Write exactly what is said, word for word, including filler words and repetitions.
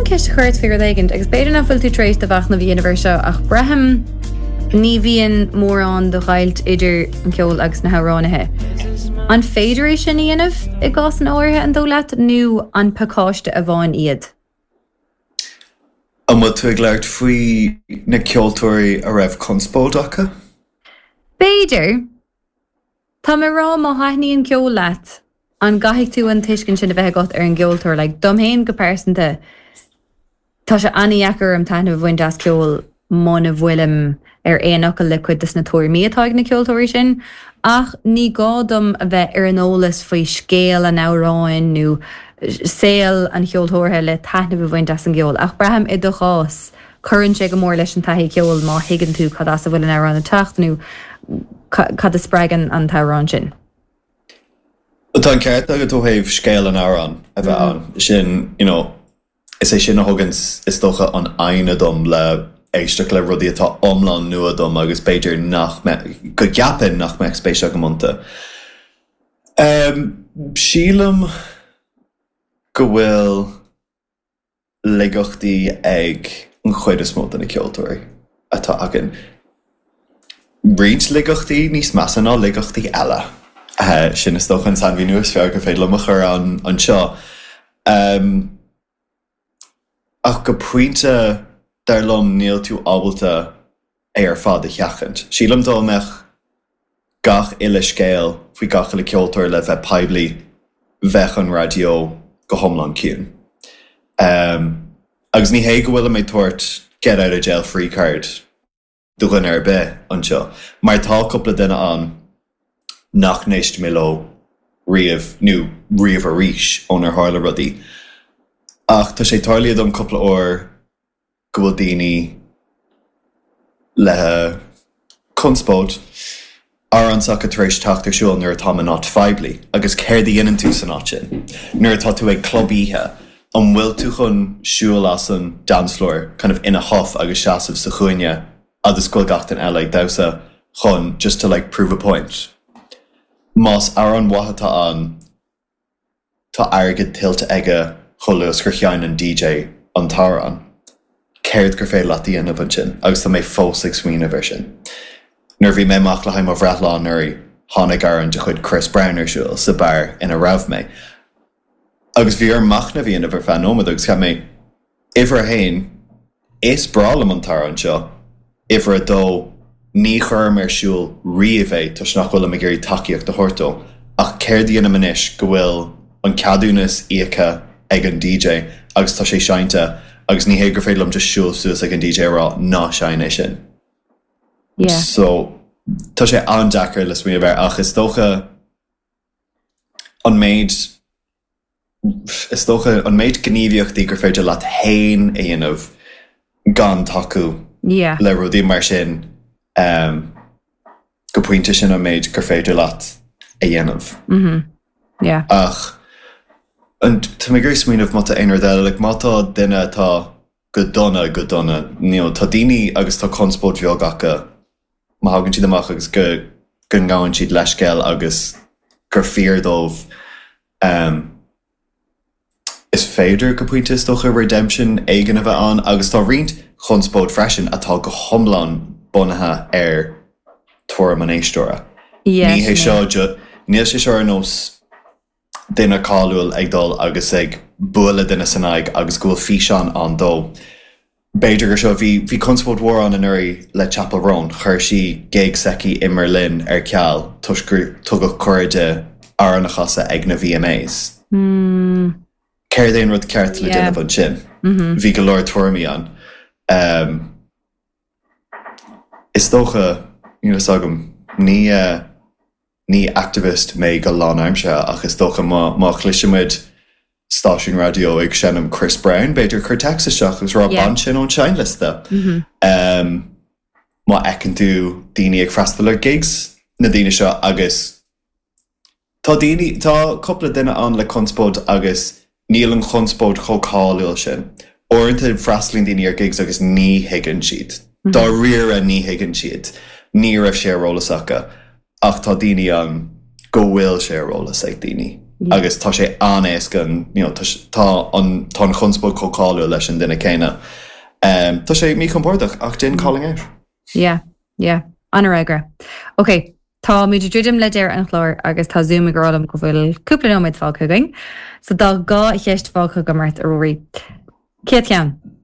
ceist a chur ort faoi rud éigin, agus b'fhéidir nach bhfuil tú tar éis do mhachnamh a dhéanamh air seo ach braithim ní bhíonn mórán de dheighilt idir an ceol agus na hamhránaithe. An féidir é sin a dhéanamh i gcás áirithe an dóigh leat nó an pacáiste amháin iad? An bhfuil tú ag labhairt faoi na ceoltóirí a raibh conspóid acu? B'fhéidir Tá mé rá má thaitníonn ceol leat an gcaithfidh tú an tuiscint sin a bheith agat ar an gceoltóir le dom féin go pearsanta Tá sé an-deacair orm taitneamh a bhaint as ceol muna bhfuilim ar aon fhocal le cuid des na tuairimí atá ag na ceoltóirí sin, ach ní gá dom a bheith ar an eolas faoi scéal an amhráin nó saol an cheoltóra le taitneamh a bhaint as an gceol, ach braithim i do chás cuireann sé go mór leis an taithí ceoil má thuigeann tú cad as a bhfuil an amhrán ag teacht nó cad a spreagann an t-amhrán sin. Tá an ceart agat ó thaobh scéal an amhráin a bheith ann sin you know, is é sin a thugann is dócha an fhoighne dom le éisteacht le rudaí atá iomlán nua dom agus b'fhéidir nach go gceapaim nach mbeadh spéis agam iontu. Um, sílim go bhfuil laigeachtaí ag an chuid is mó de na ceoltóirí atá againn. Roinnt laigeachtaí níos measa ná laigeachtaí eile. Uh, sin is dócha an sainmhíniú is fearr gur féidir liom a chur an anseo. Um, ach go pointe dar liom níl tú ábalta é ar fad a sheachaint. Sílim dá mbeadh gach uile scéal faoi gach uile ceoltóir le bheith poiblí bheadh an raidió go hiomlán ciúin. Um, agus ní hé go bhfuil mé ag tabhairt get out of jail free card do dhuine ar bith anseo, mar tá cúpla duine ann nach n-éist mé leo riamh nó riamh arís ónar tharla rudaí. Ach tá sé tarlaithe dom cúpla uair go bhfuil daoine le conspóid amhrán s'acu tar éis teacht ar siúl nuair atá in áit phoiblí, agus céard a dhéanann tú san áit sin. Nuair atá tú ag club oíche, an bhfuil tú chun siúl as an dance floor kind of in a huff agus seasamh sa chúinne agus go bhfuil gach duine eile ag damhsa chun just to like prove a point. Más amhrán maith atá ann tá airgead tuillte aige chomh luath gur sheinn an DJ an t-amhrán. Céard gur féidir leat a dhéanamh ansin agus tá mé fós ag smaoineamh air sin. Nuair bhí mé amach le haghaidh mo bhreithlá anuraidh tháinig amhrán de chuid Chris Brown ar siúl sa beár ina raibh mé. Agus bhí orm machnamh a dhéanamh ar feadh nóiméad agus cheap mé uimhir a haon is breá liom an t-amhrán seo, uimhir a dó ní chuirim ar siúl riamh é toisc nach bhfuilim ag iarraidh tacaíocht a thabhairt dó, ach céard a dhéanaim anois go bhfuil an ceadúnas íoctha ag an DJ agus tá sé seinnte agus ní hé gur féidir liom just siúl suas ag an DJ a rá ná seinn é sin. Yeah. So tá sé an-deacair le smaoineamh air ach is dócha an méid is dócha an méid gníomhaíochtaí gur féidir leat féin a dhéanamh gan tacú Yeah. le rudaí mar sin um, go pointe sin an méid gur féidir leat a dhéanamh. Mm-hmm. Yeah. Ach an tá mé ag smaoineamh má tá aon rud eile, like, má tá duine atá go dona go dona, you know, tá daoine agus tá conspóid bheag acu má thagann siad amach agus go go ngabhann siad leithscéal agus gur fíor dóibh um, is féidir go pointe is dócha redemption éigin a bheith ann agus tá roinnt chonspóid freisin atá go hiomlán bunaithe ar tuairim an éisteora. Yeah, Ní hé sin é. seo ju- níl sé seo ar nós duine cáiliúil ag dul agus ag bualadh duine san aghaidh agus go bhfuil físeán ann dó. B'fhéidir gur seo bhí bhí conspóid mhór ann anuraidh le Chappell Roan, chuir sí gig s'aici i mBerlin ar ceal toisc gur tugadh cuireadh di amhrán a chasadh ag na VMAs. Mm, Céard é an rud ceart le Yeah. déanamh ansin. mm-hmm. Bhí go leor tuairimí ann. Um, is dócha níl a fhios agam ní uh, ní activist mé go lánaimseartha ach is dócha má má chloisimid stáisiún raidió ag seinm Chris Brown, b'fhéidir cuir text isteach agus rá Yeah. bain sin ón seinnliosta. Mm-hmm. Um, má fheiceann tú daoine ag freastal ar gigs na daoine seo agus tá daoine tá cúpla duine ann le conspóid agus níl an chonspóid chomh cáiliúil sin. Uaireanta freastalaíonn daoine ar gigs agus ní thuigeann siad. Dáiríre ní thuigeann siad. Ní raibh sé ar eolas acu ach tá daoine ann go bhfuil sé ar eolas ag daoine. Agus tá sé an-éasca you know, tá an tá an chonspóid chomh cáiliúil leis an duine céanna. Um, tá sé míchompordach ach déan calling out. Yeah, yeah, an-fhreagra. Ok, Tá muid ag druidim le deireadh an chláir agus tá Zoom ag rá liom go bhfuil cúpla nóiméad fágtha againn, so tá dhá cheist fágtha agam ort a Ruairí. Céad cheann.